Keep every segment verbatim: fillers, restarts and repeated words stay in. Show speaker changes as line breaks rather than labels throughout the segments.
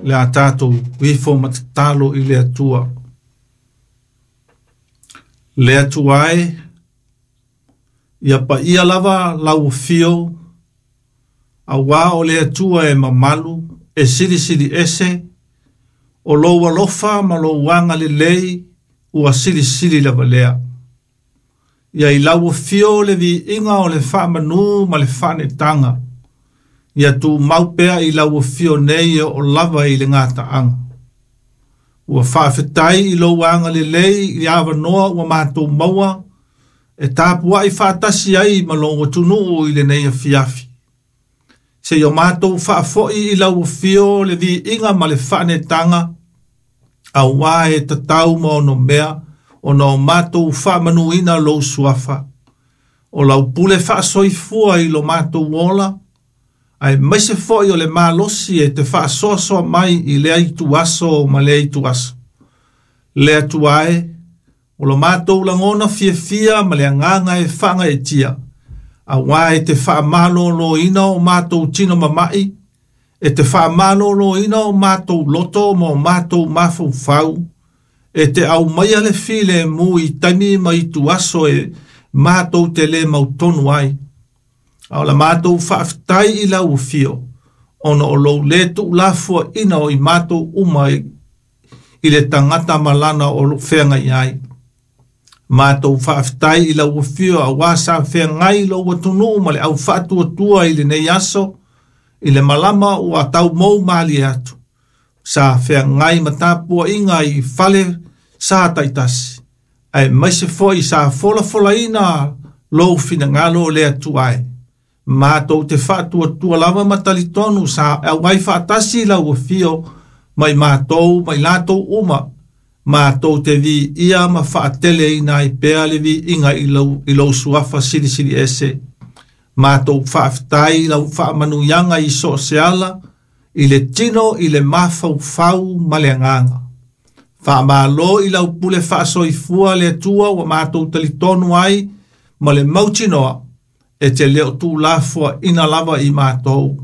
Le a tātou ifo ma tatalo i le Atua. Le Atua e, ia paia lava lau afio, auā o le Atua e mamalu, e silisili ese, o lou alofa ma lou agalelei ua silisili lava lea. Ia i lau afio le viiga o le faamanu ma le faanetaga. Ia tumau pea i lau afio nei e oo lava i le gataaga. Ua faafetai i lou agalelei i avanoa ua matou maua, e tapuai faatasi ai ma lou atunuu i lenei afiafi. Seia o matou faafoi i lau afio le viiga ma le faanetaga, auā e tatau ma onomea, ona o matou faamanuina lou suafa. O lau pule faasoifua i lo matou ola, aemaise foi o le malosi e te faasoasoa mai i lea ituaso ma lea ituaso. Le Atua e, o lo matou lagona fiafia ma le agaga e faagaeetia, auā e te faamalōlōina o matou tino mama'i, e te faamalōlōina o matou loto ma o matou mafaufau, e te aumaia le filemu i taimi ma ituaso e matou te lē mautonu ai. A o la matou faafetai i lau afio, ona o lou lē tuulafoaina o i matou uma i i le tagata ma lana o lo feagai ai. Matou faafetai i lau afio auā sa feagai lou atunuu ma le aufaatuatua i lenei aso, i le malama ua taumou malie atu. Sa feagai ma tapuaiga i fale sa taitasi, aemaise foi sa folafolaina lou finagalo o le Atua e. Matou te faatuatua lava ma talitonu sa auai faatasi lau afio mai matou ma i latou uma. Matou te viia ma faateleina ai pea le viiga i lou, i lou suafa silisili ese. Matou faafetai i lau faamanuiaga i so o se ala, i le tino, i le mafaufau ma le agaga. Faamalo i lau pule faasoifua le Atua ua matou talitonu ai ma le mautinoa, e te le o tuulafoaina lava i matou.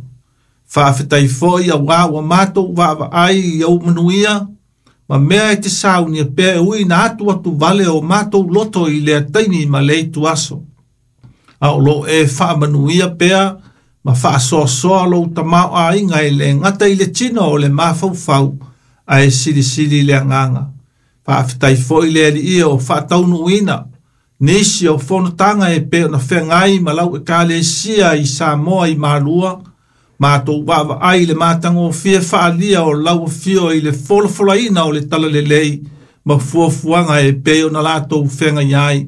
Faafetai foi auā ua matou vaavaai i ou manuia, ma mea e te saunia pea e ui na atu atu vale o matou loto i lea taimi ma lea ituaso. A o loo e faamanuia pea ma faasoasoa lou tamaoaiga e lē gata i le tino o le mafaufau, ae silisili le agaga. Faafetai foi le Alii o faataunuuina nisi o fonotaga e pei ona feagai ma lau Ekalesia i Samoa i Malua, matou vaavaai i le matagofie faaalia o lau afio i le folafolaina o le talalelei ma fuafuaga e pei ona latou feagai ai.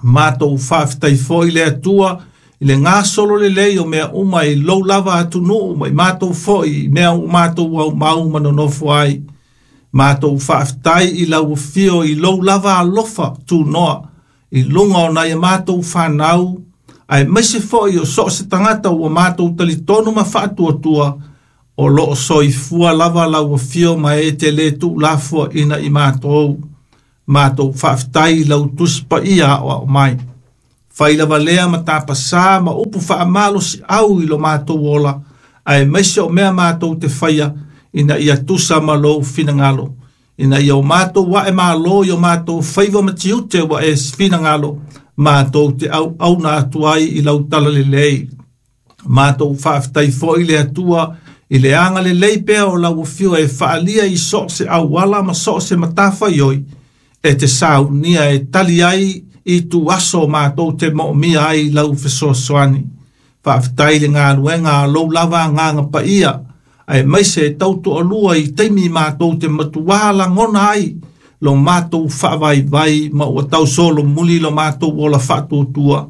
Matou faafetai foi le Atua i le gasolo lelei o mea uma i lou lava atunuu ma i matou foi i mea ua matou aumau ma nonofo ai. Matou faafetai i lau afio i lou lava alofa tunoa i luga o nai a matou fanau, aemaise foi o so o se tagata ua matou talitonu ma faatuatua, o loo soifua lava lau afio ma e te lē tuulafoaina i matou. Matou faafetai i lau Tusi Paia aoao mai. Fai lava lea ma tapasā ma upu faamalosiau i lo matou ola, aemaise o mea matou te faia, ina ia tusa ma lou finagalo. Ina ia o matou ae malo i o matou faiva ma tiute ua e finagalo, matou te auauna atu ai i lau talalelei. Matou faafetai foi le Atua i le agalelei pea o lau afio e faaalia i so o se auala ma so o se matafaioi, e te saunia e tali ai i ituaso matou te moomia ai lau fesoasoani. Faafetai le galuega a lou lava Agaga Paia, aemaise e tautoalua i taimi matou te matuā lagona ai lo matou faavaivai ma ua tausolomuli lo matou ola faatuatua.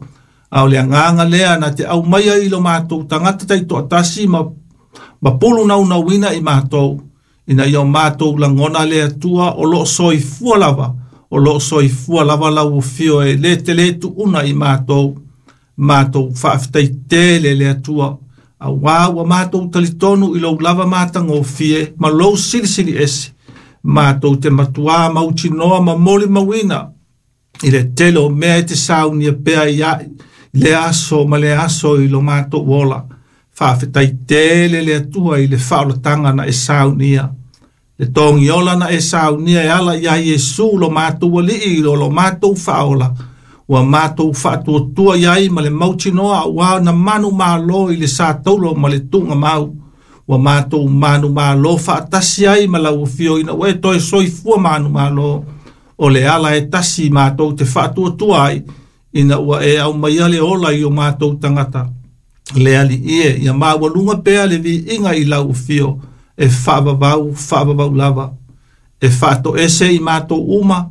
A o le agaga lea na te aumaia i lo matou tagata taitoatasi ma, ma pulu naunauina i matou, ina ia o matou lagona le Atua o loo soifua lava, o loo soifua lava lau afio e lē te lē tuuna i matou. Matou faafetai tele le Atua, auā ua matou talitonu i lou lava matagofie ma lou silisili ese. Matou te matuā mautinoa ma molimauina i le tele o mea e te saunia pea i le aso ma le aso i lo matou ola. Faafetai tele le Atua i le faaolataga na e saunia. Le togiola na e saunia e ala ia Iesu lo matou alii lo lo matou faaola. Ua matou faatuatua iai ma le mautinoa ua na manu malo i le sa taulo ma le tuga mau. Ua matou manu malo faatasi ai ma lau afio ina ua e toe soifua manu malo. O le ala e tasi matou te faatuatua ai ina ua e aumaia le ola i o matou tagata. Le alii e ia maualuga pea le viiga i lau afio e faavavau faavavau lava. E faatoese i matou uma,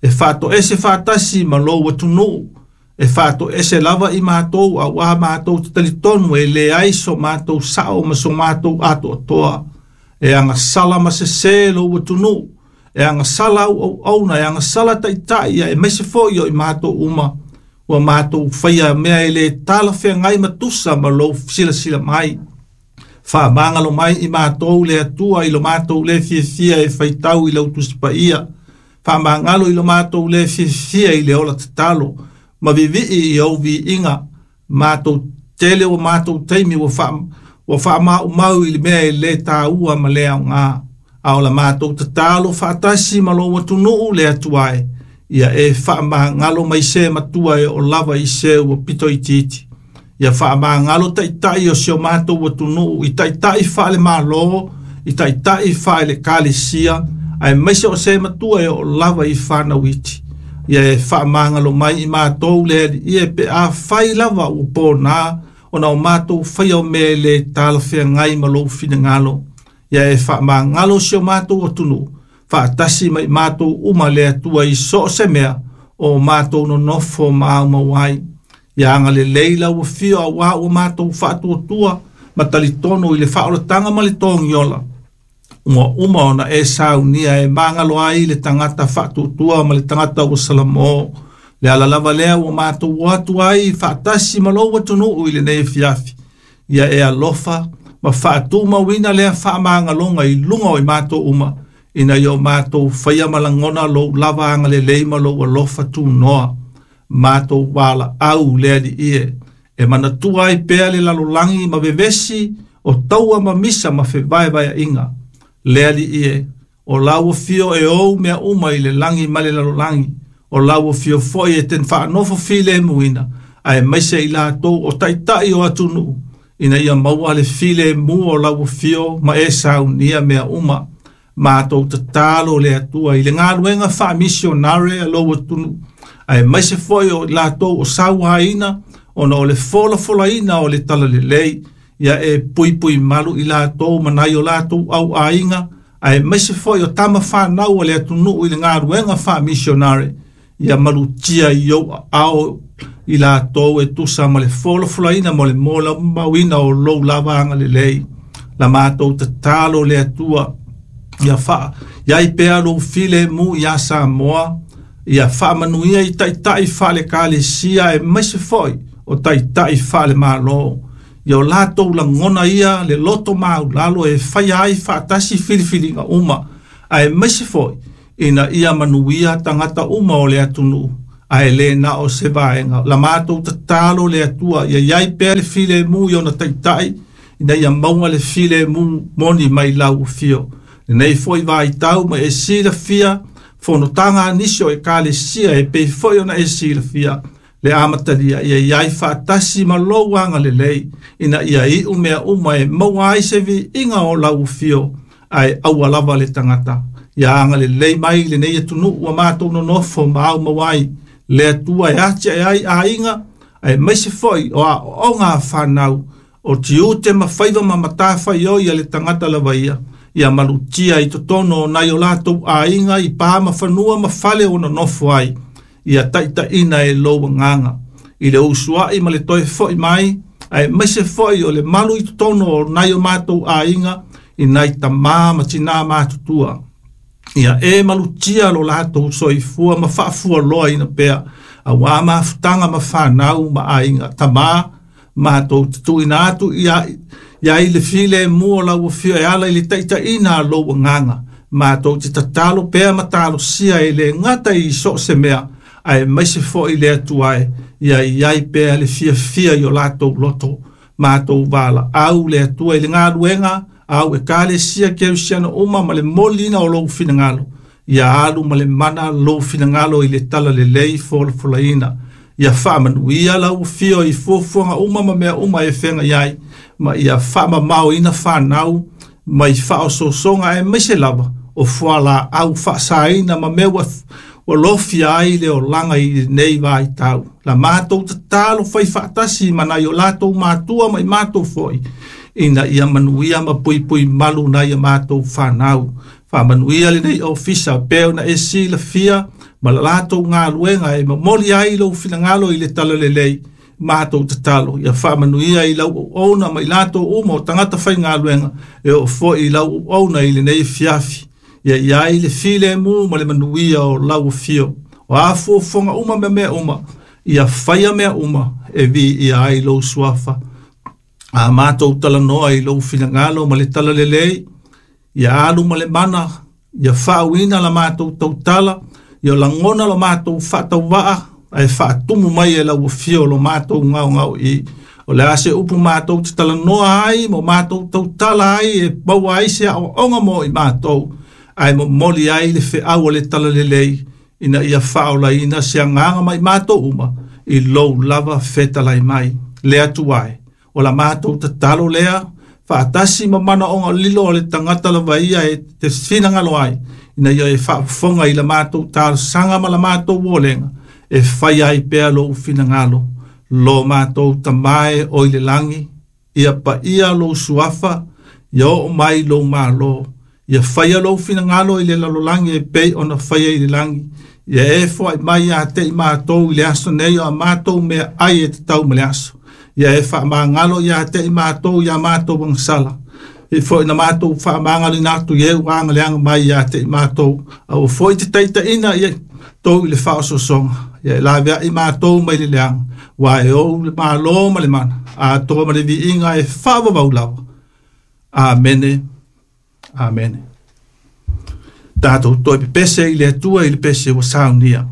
e faatoese faatasi ma lou atunuu, e faatoese lava i matou auā matou te talitonu e leai so matou sao ma so matou atoatoa. E agasala ma sesē lou atunuu, e agasala auauauna, e agasala taitai ia e maise foi o i matou uma. Ua matou faia mea e le talafeagai ma tusa ma lou silasila mai. Faamagalo mai i matou le Atua i lo matou le fiafia e faitau i lau Tusi Paia. Faamagalo i lo matou le fiafia i le ola tatalo. Ma vivii i ou viiga. Matou tele o matou taimi ua faa ua faamaumau i le mea e le tāua ma le aoga. A o la matou tatalo faatasi ma lou atunuu le Atua e. Ia e faamagalo mai se matua e o lava i se ua pito itiiti. Ia faamagalo taitai o si o matou atunuu i taitai faale-malo, i taitai faale-ekalesia, aemaise o se matua e o lava i fanau iti. Ia e faamagalo mai i matou le alii e pe afai lava ua pona ona o matou faia o mea e le talafeagai ma lou finagalo. Ia e faamagalo si o matou atunuu, faatasi mai matou uma le Atua i so o se mea o matou nonofo ma aumau ai. Ia agalelei lau afio auā ua matou faatuatua ma talitonu i le faaolataga ma le togiola. Ua uma ona e saunia e magalo ai le tagata faatuatua ma le tagata ua salamo. Le ala lava lea ua matou o atu ai faatasi ma lou atunuu i lenei afiafi. Ia e alofa ma faatumauina lea faamagaloga i luga o i matou uma, ina ia o matou faia ma lagona lou lava agalelei ma lou alofa tunoa. Matou valaau le alii e, e manatua ai pea le lalolagi ma vevesi o taua ma misa ma fevaevaeaiga. Le alii e, o lau afio e ou mea uma i le lagi ma le lalolagi. O lau afio foi e te faanofo filemuina, aemaise i latou o taitai o atunuu, ina ia maua le filemu o lau afio ma e saunia mea uma. Matou tatalo le Atua i le galuega faamisionare a lou atunuu, aemaise foi o latou o sauaina ona o le folafolaina o le talalelei. Ia e puipui malu i latou ma nai o latou auaiga, aemaise foi o tama fanau a le atunuu i le galuega faamisionare. Ia malutia i ou aao i latou e tusa ma le folafolaina ma le molimauina o lou lava agalelei. La matou tatalo le Atua, ia faa iai pea lou filemu ia Samoa, ia faamanuia i taitai faale-ekalesia aemaise foi o taitai faale-malo. Ia o latou lagona ia le loto maulalo e faia ai faatasi filifiliga uma, aemaise foi ina ia manuia tagata uma o le atunuu, ae le na o se vaega. La matou tatalo le Atua, ia iai pea le filemu i ona taitai, ina ia maua le filemu moni mai lau afio. Lenei foi vaitau ma e silafia fonotaga a nisi o ekalesia e pei foi ona e silafia le amatalia. Ia iai faatasi ma lou agalelei, ina ia iu mea uma e maua ai se viiga o lau afio, ae aua lava le tagata. Ia agalelei mai lenei atunuu ua matou nonofo ma aumau ai. Le Atua e atiae ai aiga, aemaise foi o aoaoga a fanau, o tiute ma faiva ma matafaioi a le tagata lava ia. Ia malutia i totonu o nai o latou aiga i pa ma fanua ma fale o nonofo ai. Ia taitaiina e lou agaga i le usuai ma le toe foi mai, aemaise foi o le malu i totonu o nai o matou aiga i nai tamā ma tinā matutua. Ia e malutia lo latou soifua ma faafualoaina pea, auā mafutaga ma fanau ma aiga. Tamā matou te tuuina atu ia ia i le filemu o lau afio e ala i le taitaiina a lou agaga. Matou te tatalo pea ma talosia e le gata i so o se mea, aemaise foi le Atua e, ia iai pea le fiafia i o latou loto. Mātou vala au le Atua i le galuega au e kalesia kerisiano uma ma le molina o lou finagalo. Ia alu ma le mana lou finagalo i le talalelei folafolaina. Ia faamanuia lau afio i fuafuaga uma ma mea uma e feagai ai, ma ia faamamaoina fanau mai faaosoosoga aemaise lava o fualaau faasaina ma mea ua ua lofia ai le olaga i lenei vaitau. La matou tatalo fai faatasi ma nai o latou matua ma i matou foi, ina ia manuia ma puipui malu nai a matou fanau. Faamanuia lenei ofisa pei ona e silafia ma la latou galuega e momoli ai lou finagalo i le talalelei. Matou tatalo ia faamanuia i lau auauna ma i latou uma o tagata faigaluega e oo foi i lau auauna i lenei afiafi. Ia i ai le filemu ma le manuia o lau afio. O a fuafuaga uma ma mea uma, ia faia mea uma e viia ai lou suafa. A matou talanoa i lou finagalo ma le talalelei, ia alu ma le mana, ia faauina la matou tautala, ia lagona lo matou faatauvaa, ae faatumu mai e lau afio lo matou gaogao i. O le a se upu matou te talanoa ai, ma matou tautala ai, e maua ai se aoaoga mo i matou, ae momoli ai le feau o le talalelei, ina ia faaolaina se agaga mai matou uma, i lou lava fetalai mai. Le Atua e, o la matou tatalo lea, faatasi ma manaoga lilo o le tagata lava ia e te finagalo ai, ina ia e faafofoga i la matou talosaga ma la matou olega, e fai ai pea lou finagalo. Lo matou Tama e o i le lagi, ia paia lou suafa, ia oo mai lou malo, ia faia lou finagalo i le lalolagi e pei ona faia i le lagi. Ia e foai mai ia te i matou i le aso nei o a matou meaai e tatau ma le aso. Ia e faamagalo ia te i matou ia matou agasala, e foi na matou faamagaloina atu i e ua agaleaga mai ia te i matou. Aua foi te taitaiina ia tou i le faaosoosoga. Ia e laveai matou mai le leaga, ua e ou le malo ma le mana, atoa ma le viiga e faavavau lava. Amene, amene. Tatou toe pepese i le Atua i le pese ua saunia.